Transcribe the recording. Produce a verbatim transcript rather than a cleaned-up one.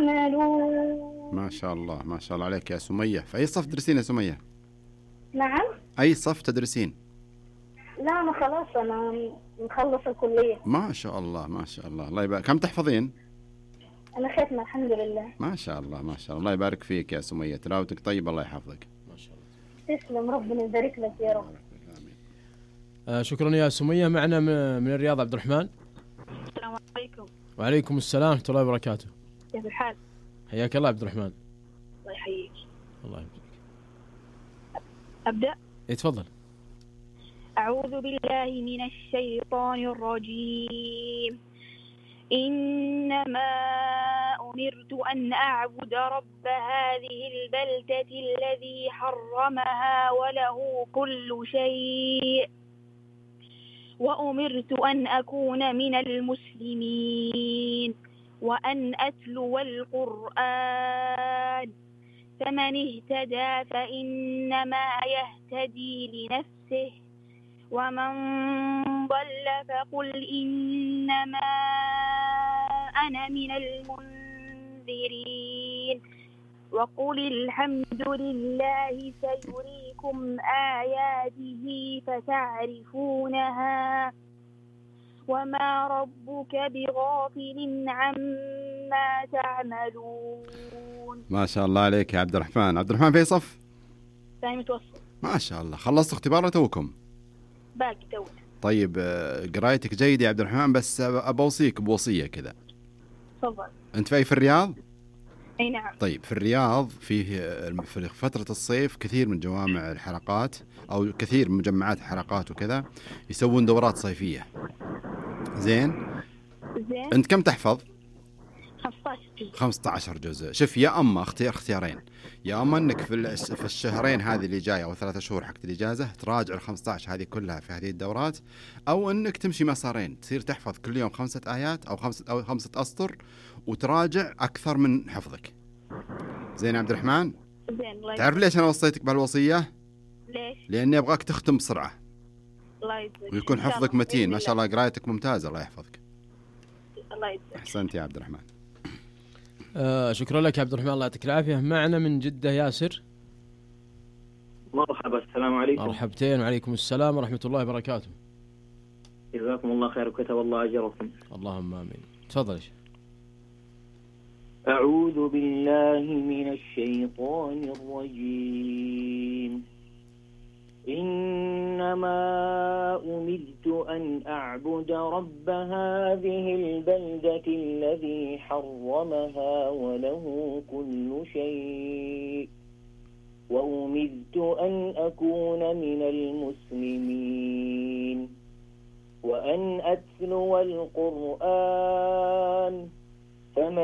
تعملون. ما شاء الله ما شاء الله عليك يا سمية. في أي صف تدرسين يا سمية؟ نعم. أي صف تدرسين؟ لا أنا خلاص أنا مخلص الكلية. ما شاء الله ما شاء الله. الله يبارك. كم تحفظين؟ أنا ختمة الحمد لله. ما شاء الله ما شاء الله. الله يبارك فيك يا سمية، تلاوتك طيب، الله يحفظك. ما شاء الله. تسلم، ربنا يبارك لك يا رب. آه شكرا يا سمية. معنا من الرياض عبد الرحمن. السلام عليكم. وعليكم السلام ورحمة الله وبركاته. كيف الحال؟ حياك الله عبد الرحمن. الله يحييك. الله يبارك. أبدأ؟ إيه تفضل. أعوذ بالله من الشيطان الرجيم. إنما أمرت أن أعبد رب هذه البلدة الذي حرمها وله كل شيء وأمرت أن أكون من المسلمين وأن أتلو القرآن فمن اهتدى فإنما يهتدي لنفسه ومن ضل فقل إنما أنا من المنذرين وقل الحمد لله سيريكم آياته فتعرفونها وما ربك بغافل عما تعملون. ما شاء الله عليك يا عبد الرحمن. عبد الرحمن في صف؟ ثاني متوسط. ما شاء الله. خلصت اختبار توكم؟ باقي تو. طيب قرايتك جيدة يا عبد الرحمن، بس أبوصيك بوصية كذا. تفضل. أنت في في الرياض؟ أي نعم. طيب في الرياض فيه في فترة الصيف كثير من جوامع الحلقات أو كثير من مجمعات الحلقات وكذا يسوون دورات صيفية. زين؟ زين. أنت كم تحفظ؟ خمسة عشر جزء. خمسة عشر جزء. شوف يا أما اختيار اختيارين، يا أما أنك في في الشهرين هذه اللي جاية أو ثلاثة شهور حق الإجازة تراجع الخمسة عشر هذه كلها في هذه الدورات، أو أنك تمشي مسارين تصير تحفظ كل يوم خمسة آيات أو خمسة أو خمسة أسطر وتراجع أكثر من حفظك. زين عبد الرحمن؟ زين. تعرف ليش أنا وصيتك بهالوصية؟ ليش؟ لأني أبغاك تختم بسرعة. الله يجزاك. ويكون حفظك متين. ما شاء الله قرايتك ممتازة، الله يحفظك. الله يجزاك. أحسنت يا عبد الرحمن. آه شكرا لك يا عبد الرحمن، الله يعطيك العافية. معنا من جدة ياسر. مرحبا. السلام عليكم. مرحبتين. وعليكم السلام ورحمة الله وبركاته. جزاكم الله خير وكتب الله أجركم. اللهم آمين. تفضل. أعوذ بالله من الشيطان الرجيم. إنما أمرت أن أعبد رب هذه البلدة الذي حرمها وله كل شيء وأمرت أن أكون من المسلمين وأن أتلو القرآن فمن